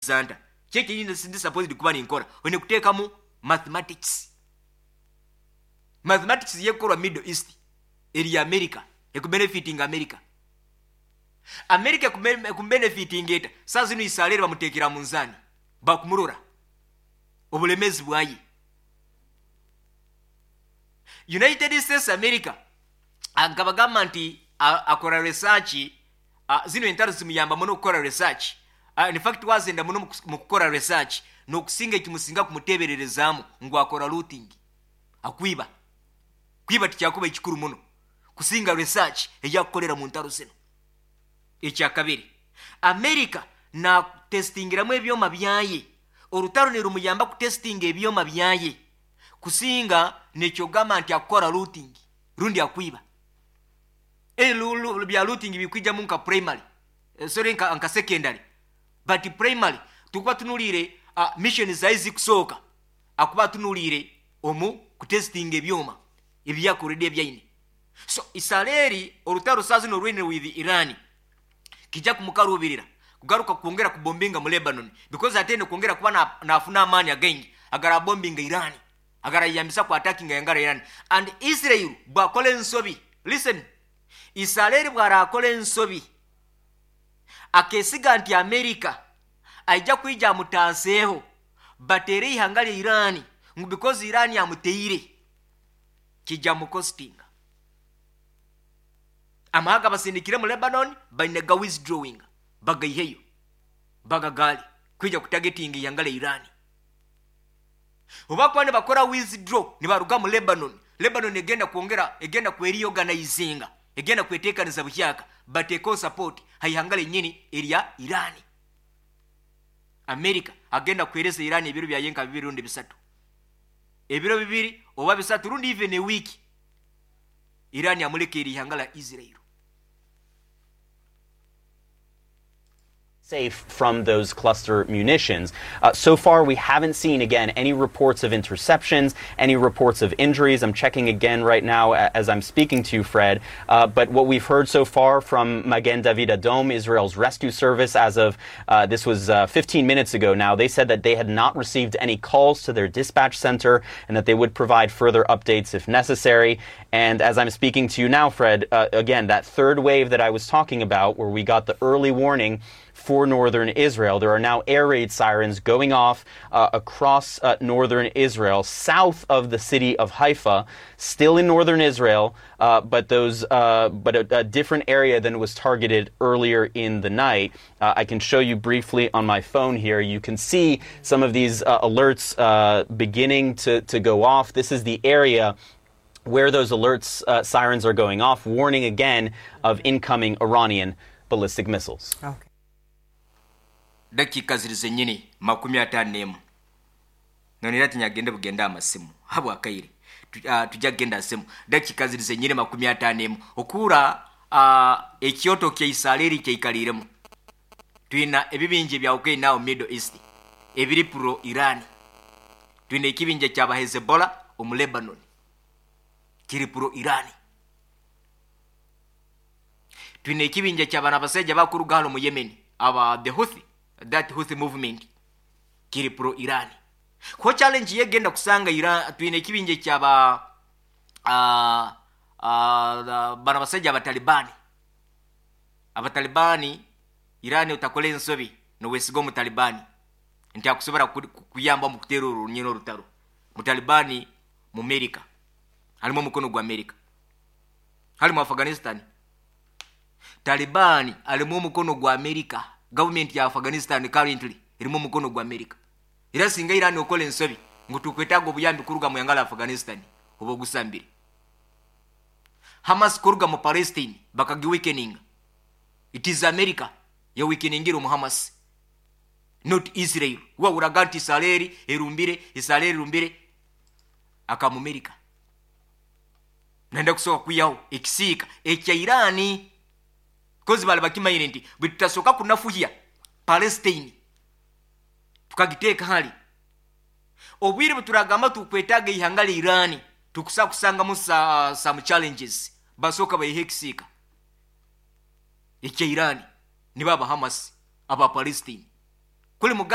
Nta kyekyenyini ndi supposed kuba ninkora, oine kuteekamu mathematics. Mathematics y'ekukorwa Middle East eri America, ekubenefitinga America. America ekubenefitinga eta? Saa zinu Isaleeri bamuteekera munzaani, bakumurora obulemeezi bwaye. United States America nkabagamba nti akora research, zinu entaro zimuyamba muno kukora research. In fact wazenda muno mu kukora research n'okusinga ekimusinga kumuteebererezaamu ngu akora looting, akwiba. Kwiba tikyakuba ekikuru muno kusinga research eyakukolera mu ntaro zinu. Ekyakabiri, America natestingiramu ebyoma byaye. Orutaro nirumuyamba kutestinga ebyoma byaye kusinga nekyogamba nti akukora looting rundi akwiba. Bya looting bikwijamu nka primary, sorry, nka secondary, but primary tukuba tunuliire mission zaye zikusooka akuba atunuliire omu kutestinga ebyoma ebyakorede ebyaine. So Isaleeri orutaro saa zino orwine with Iran kijja kumukarubirira kugaruka kwongera kubombinga mu Lebanon, because ate kwongera kuba nafuna amaani againgi agarabombinga Iran, agarayambisa ku attacking yangara Iran. And Israel bwakola ensobi, listen, Isaleeri bwarakola ensobi akesiga nti America aija kwija amutaaseeho bateere ihanga lya Iran, ngu because Iran amuteire, kijja mukostinga. Amahanga basindikire mu Lebanon baine ga withdrawing, bagaiheyo bagagaali kwija kutargetinga ihanga lya Iran. Oba kuba nibakora withdraw nibaruga mu Lebanon, Lebanon egenda kwongera, egenda kwereorganizinga, egenda kweteekaniza buhyaka, bateekeho support haihanga lenyini erya Iran. America agenda kuhereza Iran ebiro byaye nka 2 rundi 3, ebiro 2 oba 3 rundi even a week. Iran amulekera ihanga la Israel. Safe from those cluster munitions. So far, we haven't seen, again, any reports of interceptions, any reports of injuries. I'm checking again right now as I'm speaking to you, Fred. But what we've heard so far from Magen David Adom, Israel's rescue service, as of this was 15 minutes ago now, they said that they had not received any calls to their dispatch center and that they would provide further updates if necessary. And as I'm speaking to you now, Fred, again, that third wave that I was talking about, where we got the early warning for northern Israel. There are now air raid sirens going off across northern Israel, south of the city of Haifa, still in northern Israel, but a different area than was targeted earlier in the night. I can show you briefly on my phone here. You can see some of these alerts beginning to go off. This is the area where those alerts sirens are going off, warning again of incoming Iranian ballistic missiles. Okay. Dakika ziri zenyini 51. Nonera tinyagende bugenda amasimu habwa kaire tujja kugenda asimu. Dakika ziri zenyini 51 okura ekyoto kya Isaleeri kyaikaliremu. Twina ebibinje bya ukei nao Middle East ebiri pro Iran. Twina ekibinje kya Hezbollah omu Lebanon kiri pro Iran. Twina ekibinje kya bana basajja bakuruga hano mu Yemen aba the Houthi, that Houthi movement kiri pro Iran. Ko challenge yegenda kusanga Iran. Twine ekibinje kyaba bana basajja abatalibani. Abatalibani Iran utakole ensobi nowesiga omutalibani nti akusobola kuyamba mu kuteera olunyina olutalo. Mutalibani mu America halimu omukono gwa America, halimu Afghanistan. Talibani alimu omukono gwa America. Government ya Afghanistan currently erimu omukono gwa America. Era singa Iran okola ensobi ngu tukwetaaga obuyambi kuruga mu yangala Afghanistan oba ogusambire. Hamas kuruga mu Palestine bakagiweakeninga. It is America ya weakeningira omu Hamas, not Israel. Wawuraga nti Israeli erumbire, Israeli erumbire akamu America. Nenda kusooka kuyaho ekisiika ekya Irani. Kozi bali bakimayire nti bwe tutasooka kunafuhya Palestine tukagiteeka hali obwire bwe turagamba tukwetaaga ihanga lya Irani tukusa kusangamu some challenges. Basooka bayihe ekisiika ekya Irani nibo aba Hamas aba Palestine. Kuli mu Gaza.